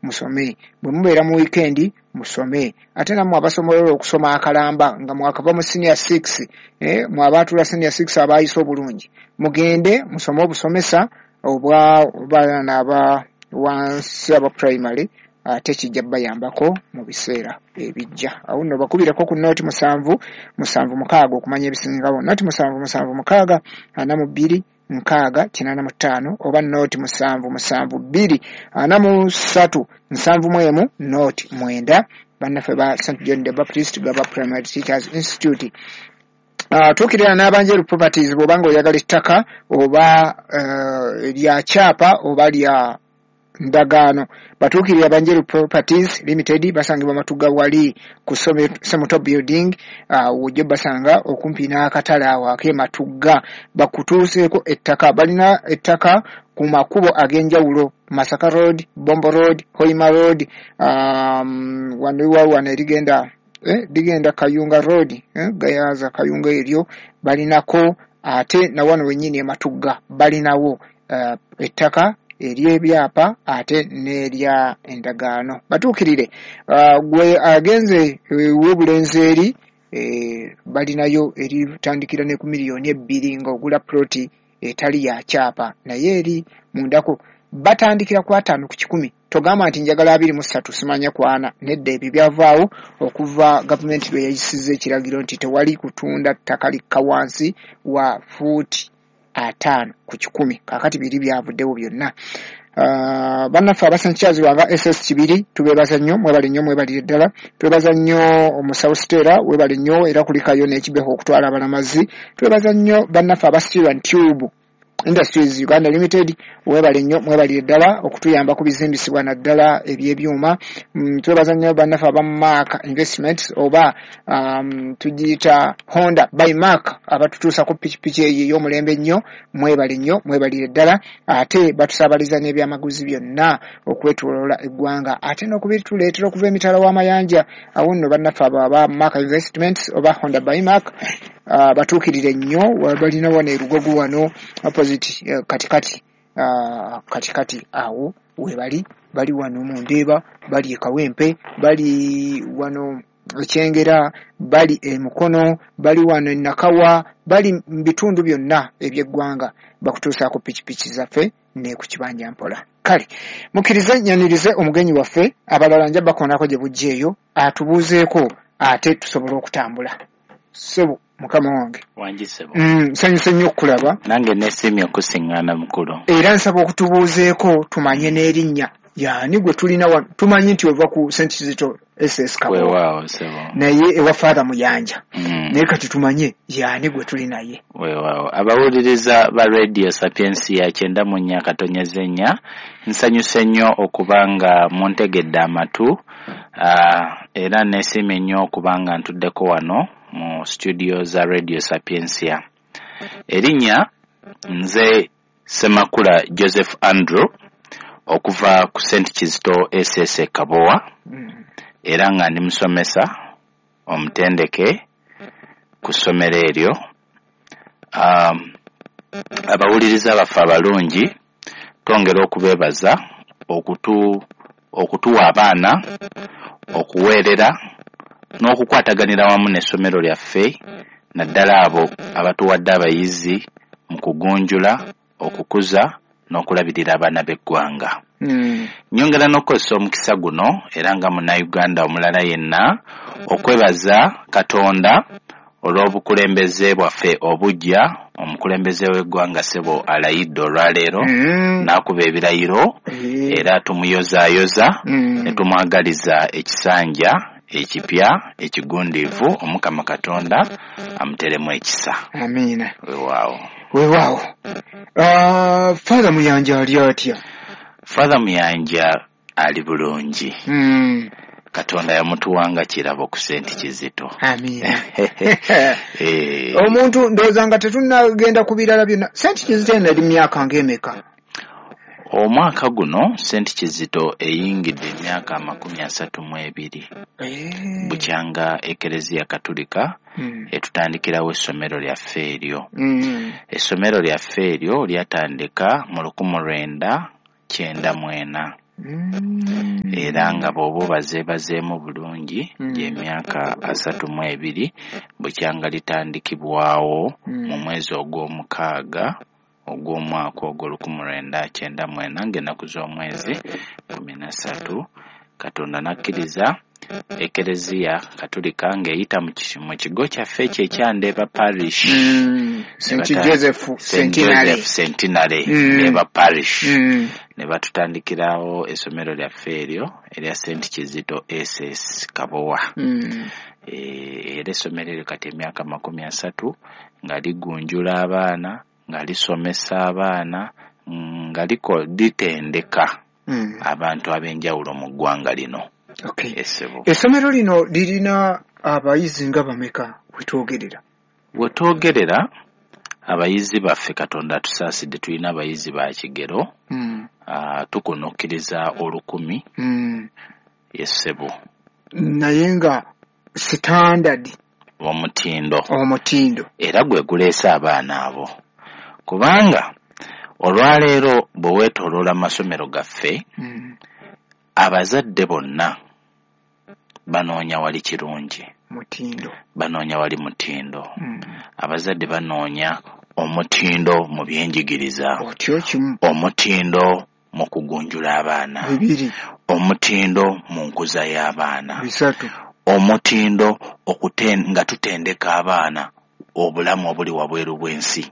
musome. Bwe mubeera mu wiikendi musome. Ate nammwe abasobola okusoma akalamba nga mwakava mu senior 6, mwabaatula senior 6 abaayise obulungi, mugende musome obusomesa obwa baana aba wansi aba primary, ate kijja bayambako mu biseera ebijja. Awo nno bakubireko ku nooti 7 7 6 okumanya ebisingawo. Nooti 7 7 6 42 6 85 oba nooti 7 7 2 43 71 nooti 9. Bannaffe ba St John the Baptist Gaba Primary Teachers Institute. Tuukirira n'Abanjeru Properties bw'obanga oyagala ettaka oba lya kyapa oba lya ndagaano. Batuukirira Abanjeru Properties Limited, basangibwa Matugga wali ku Semuto Building, wojja basanga okumpi n'akatale awo ak'e Matugga. Bakutuuseeko ettaka, balina ettaka ku makubo ag'enjawulo: Masaka Road, Bombo Road, Hoima Road, wano erigenda ligenda Kayunga Road, Gayaza Kayunga eryo balinako, ate na wano wennyini e Matugga balinawo ettaka ery'ebyapa ate n'erya endagaano. Batuukirire gwe agenze w'obulenzi eri, balinayo eritandikira ne ku 2 million ng'ogula ploti etali ya kyapa, naye eri mundako batandikira ku 50%. Togamba nti njagala 23 simanya kwana, nedda, ebyo byavaawo okuva gavumenti lwe yayisizza ekiragiro nti tewali kutunda ttaka likka wansi wa fuuti 50%. Kaakati biri byavuddewo byonna. Bannaffe aba St Charles Lwanga SS Kibiri tubeebaza nnyo, mwebale nnyo, mwebalire ddala. Twebaza nnyo omusawo Stella, webale nnyo, era kulikayo n'ekibeho okutwala abalamazi. Twebaza nnyo bannaffe aba Steel and Tube Industries Uganda Limited, webale nnyo, mwebalire ddala okutuyamba ku bizimbisibwa naddala ebyebyuma. Twebaza nnyo bannaffe aba Mark Investments oba tugiyita Honda by Mark, abatutuusa ku pikipiki eyo ey'omulembe ennyo. Mwebale nnyo, mwebalire ddala. Ate batusaabaliza n'ebyamaguzi byonna okwetooloola eggwanga, ate n'okubituleetera okuva emitala w'amayanja. Awo nno bannaffe abo aba Mark Investments oba Honda by Mark batuukirire nnyo. Balina wano e Lugogo wano opposite, katikati, katikati awo webali. Bali wano mu Ndeeba, bali e Kawempe, bali wano Ekyengera, bali e Mukono, bali wano e Nakawa, bali mu bitundu byonna ebyeggwanga. Bakutuusaako pikipiki zaffe ne ku kibanja mpola. Kale mukkirize nyanirize omugenyi waffe, abalala nja bakoonako gye bujja eyo atubuuzeeko ate tusobole okutambula. Ssebo mukama wange. Wangi ssebo. Nsanyuse nnyo okukulaba. Nange nesiimye okusiŋŋaana, mukulu. Era nsaba okutubuuzeeko tumanye n'erinnya, yaani gwe tulina wano. Tumanyi nti ova ku St Kizito SS Kabowa, Weewaawo ssebo. naye ewa Father Muyanja, naye kati tumanye yaani gwe tuli naye. Weewaawo, abawuliriza ba Radio Sapiensia 94.4, nsanyuse nnyo okuba nga muntegedde amatu, era nesiimye nnyo okuba nga ntuddeko wano mu studio za Radio Sapiensia. Erinnya nze Semakula Joseph Andrew okuva ku St Kizito SS e Kabowa, era nga ndi musomesa omutendeke ku ssomero eryo. Abawuliriza baffe abalungi, twongera okubeebaza okutuwa abaana, okuweerera n'okukwataganira wamu n'essomero lyaffe, naddala abo abatuwadde abayizi mu kugunjula, okukuza n'okulabirira abaana b'eggwanga. Nyongera n'okukozesa omukisa guno, era nga munnayuganda omulala yenna, okwebaza Katonda olw'obukulembeze bwaffe obuggya. Omukulembeze w'eggwanga ssebo alayidde olwaleero n'akuba ebirayiro, era tumuyozaayoza ne tumwagaliza ekisanja ekipya ekigundiivu. Omukama Katonda amuteremu ekisa. Amiina. Weewaawo. Weewaawo. Father Muyanja ali atya? Father Muyanja ali bulungi. Katonda yamutuwanga kirabo ku Senti Kizito. Amiina. Omuntu ndowooza nga tetunnagenda ku birala byonna, Senti Kizito eno eri myaka ng'emeka? Omwaka guno Senti Kizito eyingidde emyaka 32 bukyanga Ekereziya Katulika etutandikirawo essomero lyaffe eryo. Essomero lyaffe eryo lyatandika mu 1994. Era nga bw'oba obazeebazeemu bulungi, gy'emyaka 32 bukyanga litandikibwawo mu mwezi ogw'omukaaga ogw'omwaka ogwo 1994, ng'ennaku z'omwezi 13, Katonda n'akkiriza Ekereziya Katolika ng'eyita mu kigo kyaffe ekyo ekya Ndeeba Parish, St Joseph Centenary Ndeeba Parish, ne batutandikirawo essomero lyaffe eryo erya St Kizito SS Kabowa. Era essomero eryo kati emyaka 30 nga ligunjula abaana, nga lisomesa abaana, nga litendeka abantu ab'enjawulo mu ggwanga lino. Essomero lino lirina abayizi nga bameka wetwogerera? Wetwogerera abayizi baffe, Katonda atusaasidde, tulina abayizi ba kigero, tukunukkiriza 1000. Yessebo. Naye nga standard omutindo era gwe guleese abaana abo, kubanga olwaleero bwe weetooloola amasomero gaffe, abazadde bonna banoonya wali kirungi, mutindo, banoonya wali mutindo. Abazadde banoonya omutindo mu byenjigiriza, omutindo mu kugunjula abaana, omutindo mu nkuza y'abaana, omutindo nga tutendeka abaana obulamu obuli wabweru bw'ensi,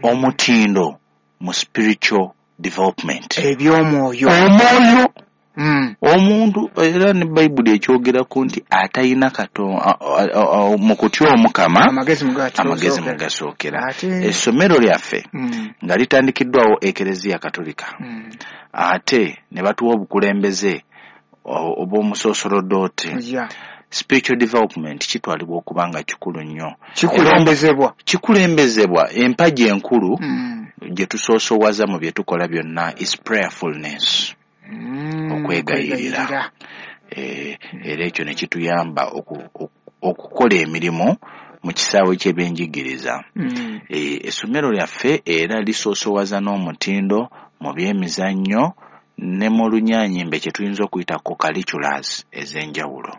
omutindo mu spiritual development, eby'omwoyo, omwoyo. Omuntu era ne Bayibuli ekyogerako nti atalina mu kutya Omukama amagezi mugasookera. Essomero lyaffe nga litandikiddwawo Ekereziya Katolika, ate ne batuwa obukulembeze obw'omusoosolodooti. Spiritual development kitwalibwa okuba nga kikulu nnyo, kikulembezebwa. Empagi enkulu gye tusoosowaza mu bye tukola byonna is prayerfulness, okwegayirira. Era ekyo ne kituyamba okukola emirimu mu kisaawe ky'ebyenjigiriza. Essomero lyaffe era lisoosowaza n'omutindo mu byemizannyo ne mu lunyaanyimbe kye tuyinza okuyita co-curriculars ez'enjawulo.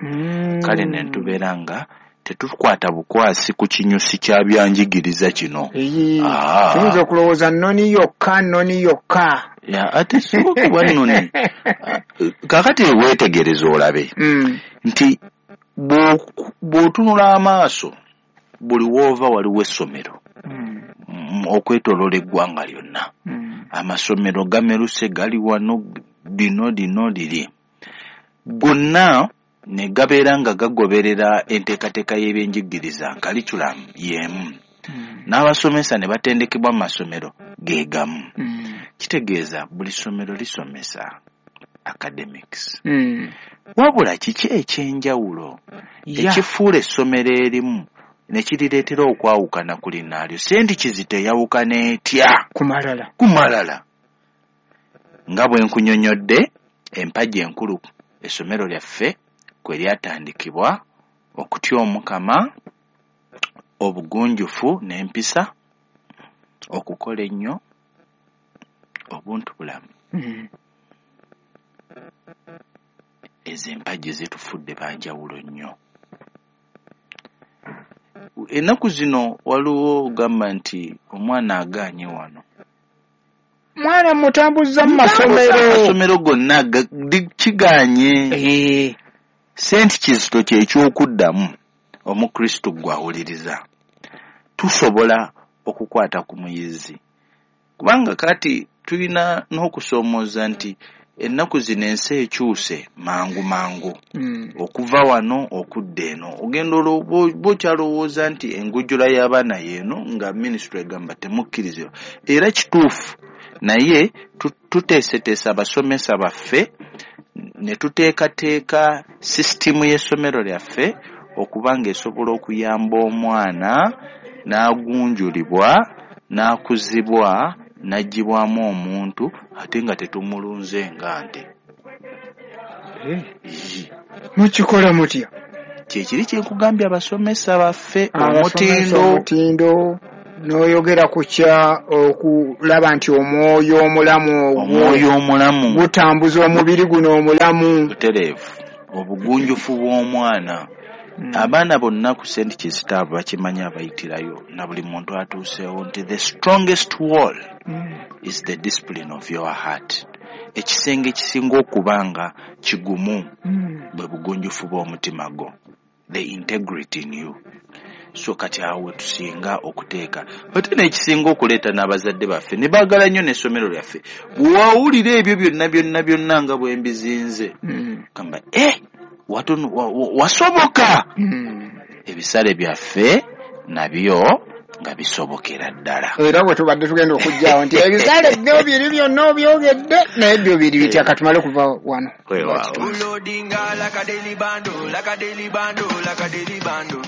Kale ne tubeera nga tetukwata bukwasi ku kinyusi kya byanjigiriza kino. Tuyinza okulowooza nnoni yokka. Ate si okuba nnoni. Kaakati weetegereza olabe nti bw'otunula amaaso buli w'ova waliwo essomero okwetooloola eggwanga lyonna. Amasomero gameruse, gali wano, lino lino liri, gonna ne gabeera nga gagoberera enteekateeka y'ebyenjigiriza, curriculum y'emu, n'abasomesa ne batendekebwa mu masomero ge gamu. Kitegeeza buli ssomero lisomesa academics. Wabula kiki ekyenjawulo ekifuula essomero erimu ne kirireetera okwawukana ku linnaalyo? St Kizito eyawukana etya ku malala? Nga bwe nkunyonnyodde, empagi enkulu essomero lyaffe kwe lyatandikibwa, okutya Omukama, obugunjufu n'empisa, okukola ennyo, obuntu bulamu. Ezo empagi zitufudde banjawulo nnyo. Ennaku zino waliwo ogamba nti omwana agaanye wano, mwana mutambuza mu masomero gonna kigaanye. St Kizito kyekyokuddamu Omukristo gw'awuliriza. Tusobola okukwata ku muyizi, kubanga kati tulina n'okusoomooza nti ennaku zino ensi ekyuse mangu mangu, okuva wano okudda eno. Ogenda bw'okyalowooza nti engujjula y'abaana y'eno, nga minisitule egamba temukkirizibwa. Era kituufu, naye tuteeseteese abasomesa baffe ne tuteekateeka sisitimu y'essomero lyaffe okuba ng'esobola okuyamba omwana n'agunjulibwa, n'akuzibwa, n'aggyibwamu omuntu, ate nga tetumulunze nga nte. Mukikola mutya? Kyekiri kye nkugambye, abasomesa baffe omutindo, N'oyogera ku kya okulaba nti omwoyo omulamu ogwo Omwoyo omulamu gutambuza omubiri guno omulamu. Butereevu, obugunjufu bw'omwana. Abaana bonna ku St Kizito abo bakimanyi, abayitirayo na buli muntu atuuseewo, nti the strongest wall is the discipline of your heart. Ekisenge ekisinga okuba nga kigumu bwe bugunjufu bw'omutima gwo, the integrity in you. So kati awo we tusinga okuteeka, ate n'ekisinga okuleeta n'abazadde baffe ne baagala nnyo n'essomero lyaffe, bwewawulira ebyo byonna byonna byonna nga bwe mbizinze, gamba wasoboka. Ebisale byaffe nabyo nga bisobokera ddala. Era bwe tubadde tugenda okujjaawo nti ebisale byo biri byonna obyogedde, naye byo biri bitya? Katumale okuva wano. Weewaawo. Loading like a daily bando, like a daily bando, like a daily bando.